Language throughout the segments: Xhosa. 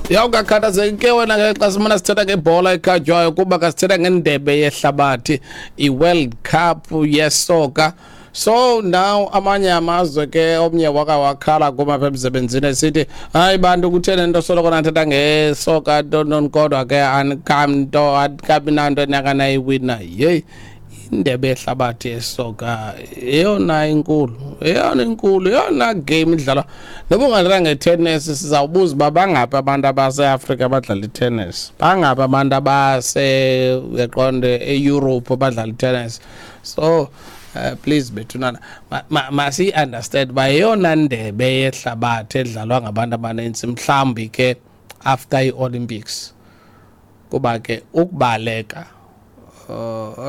Ya, ungakhathazeki ke wena ke xa simana sithetha ngebhola ekhatywayo, kuba ka sithetha ngendebe yehlabathi, i-World Cup yesoka. So now amanye amazwe ke, omnye waka wakhala kum apha emsebenzini esithi, "Hayi bantu, kutheni nto soloko nathetha ngesoka ntontoni, kodwa ke anikamnto anikabi nanto enakanayiwina?" Yeyi, indebe yehlabathi yesoka eyona inkulu, eyona inkulu, eyona game idlalwa. Noba ungadlala ngetennis, sizawubuza uba bangaphi abantu abaseAfrika abadlala itennis, bangaphi abantu abase, uyaqonde, eEurope abadlala itennis. So please bethunana, masiyi-understand uba yeyona ndebe yehlabathi edlalwa ngabantu abanintsi, mhlawumbi ke after i-Olympics, kuba ke ukubaleka,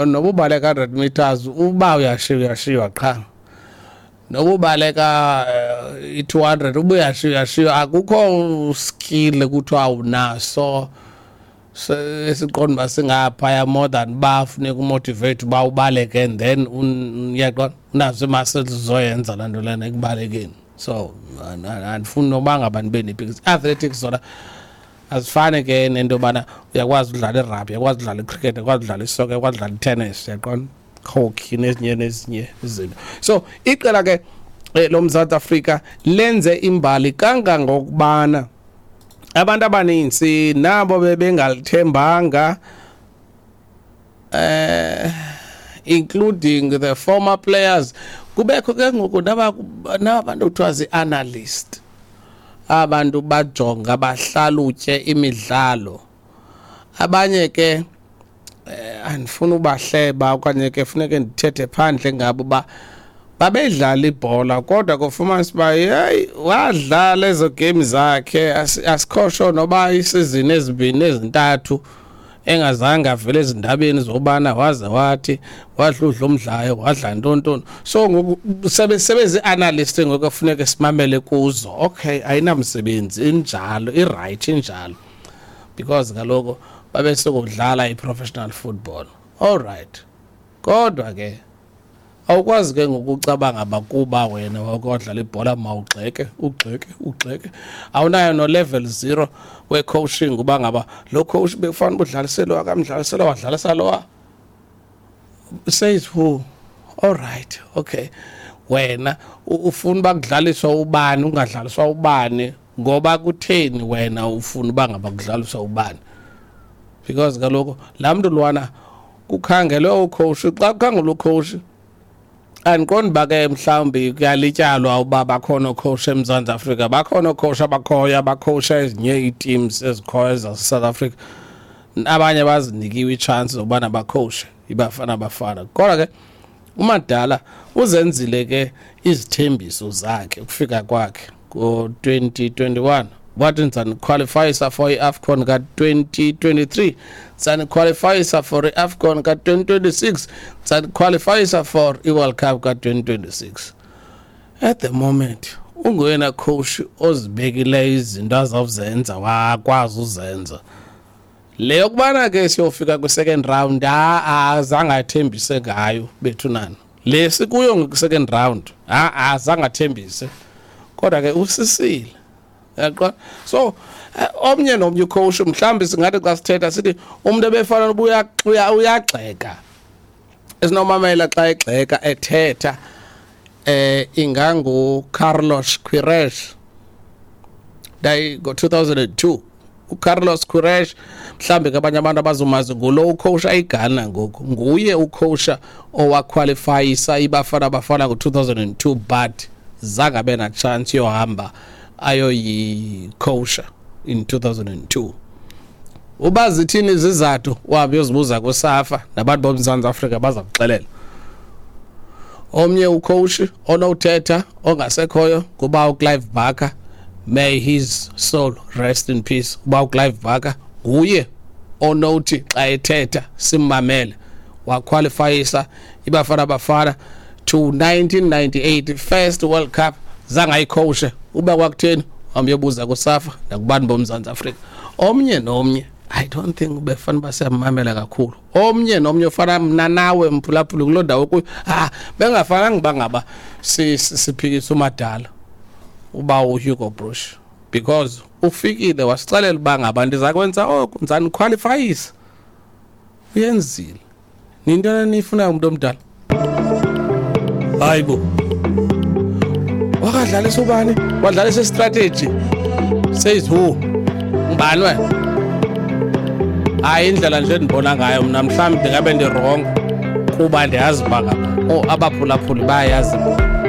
noba ubaleka 100 meters, uba uyashiywa, uyashiywa qha. Noba ubaleka i-200, uba uyashiywa, uyashiywa. Akukho skill kuthiwa unaso esiqonda uba singaphaya more than uba funeka umotivate uba ubaleke, and then uyaqonda unazo ii-muscles zoyenza laa nto lena ekubalekeni. So andifuni noba ngaba ndibe nepikisi. Athletics zona azifani ke nento yobana uyakwazi udlala irugby, uyakwazi udlala icricket, uyakwazi udlala isoka, uyakwazi udlala itennis, uyaqonda, hockey nezinye nezinye izinto. So iqela ke loMzantsi Afrika lenze imbali kangangokubana abantu abaninzi nabo bebengalithembanga, including the former players. Kubekho ke ngoku nabantu kuthiwa zii-analyst, abantu bajonga bahlalutye imidlalo. Abanye ke andifuna ubahleba okanye ke funeke ndithethe phandle ngabo uba babedlala ibhola, kodwa kufumanisa uba yeyi, wadlala ezo game zakhe, asikhosho noba isizini ezibini ezintathu engazange avele ezindabeni zobana waze wathi wadludla umdlayo, wadla ntontoni. So ngoku sebezi-analyst ngoku kufuneka simamele kuzo. Okay, ayinamsebenzi, injalo, i-right injalo, because kaloku babesokudlala i-professional football, all right. Kodwa ke awukwazi ke ngokucabanga bakuba wena wakwadlala ibhola, mawugxeke, ugxeke, ugxeke, awunayo no level 0 we-coaching, uba ngaba lo coach bekufanele udlalisele lo, akamdlalisela, wadlalisa lowa, says who? All right, okay, wena ufuna uba kudlaliswa ubani, ungadlaliswa ubani, ngoba kutheni wena ufuna uba ngaba kudlaliswa ubani? Because kaloku laa mntu lwana kukhangelwe ucoach, xa kukhangelwe ucoach, andiqondi uba ke mhlawumbi kuyalityalwa uba bakhona oocoach eMzantsi Afrika. Bakhona oocoach abakhoyo abacoacha ezinye ii-teams ezikhoyo zaseSouth Africa, abanye bazinikiwe itshansi zokubana bacoache iBafana Bafana. Kodwa ke uMadala uzenzile ke izithembiso zakhe ukufika kwakhe ngo-2021, wathi, "Ndizaniqualifyisa for i-AFCON ka-2023, ndizaniqualifyisa for i-AFCON ka-2026, ndizaniqualifyisa for i-World Cup ka-2026." At the moment unguyena coach ozibekileyo izinto azawuzenza, wakwazi uzenza. Le yokubana ke siyofika kwi-second round, azange athembise ngayo bethunana. Le sikuyo nge-second round, azange athembise, kodwa ke usisile, yaqona. So omnye nomnye ucoach, mhlawumbi singathi xa sithetha sithi umuntu ebefana noba uyagxeka, esinomamela xa egxeka ethetha, ingangu Carlos Queiroz. Dayi ngo-2002 uCarlos Queiroz, mhlambe ke abanye abantu abazomazi, ngulo ucoacha iGhana ngoku, nguye ucoacha owaqualifyisa iBafana Bafana ngo-2002, but zange abe na chance yohamba ayoyicoacha in 2002. Uba zithini izizathu, uhambe uyozibuza kuSAFA nabantu boMzantsi Afrika, baza kuxelela. Omnye ucoach onothetha ongasekhoyo kuba uClive Barker, may his soul rest in peace. Uba uClive Barker nguye onothi xa ethetha simmamele, waqualifyisa iBafana Bafana to 1998 first World Cup, zange ayicoache. Uba kwakutheni, uhambe uyobuza kuSAFA nakubantu boMzantsi Afrika. Omnye nomnye, I don't think ubefana uba siyamamela kakhulu. Omnye nomnye ofana mna nawe mphulaphuli kuloo ndawo kuyo, bengafananga uba ngaba siphikisa uMadala, uba uHugo Broos. Because ufikile wasixelela uba ngaba ndiza kwenza oku, ndizanikhwalifayisa. Uyenzile. Nintoni eniyifunayo umntu omdala? Hayi bo. Wakadlalisa ubani? Wadlalisa istrategy. Says who? Ngubani wena? Hayi, indlela nje endibona ngayo mna, mhlawumbi ndingabe ndi-wrong, kuba ndiyazi uba ngaba abaphulaphuli bayayazi bona.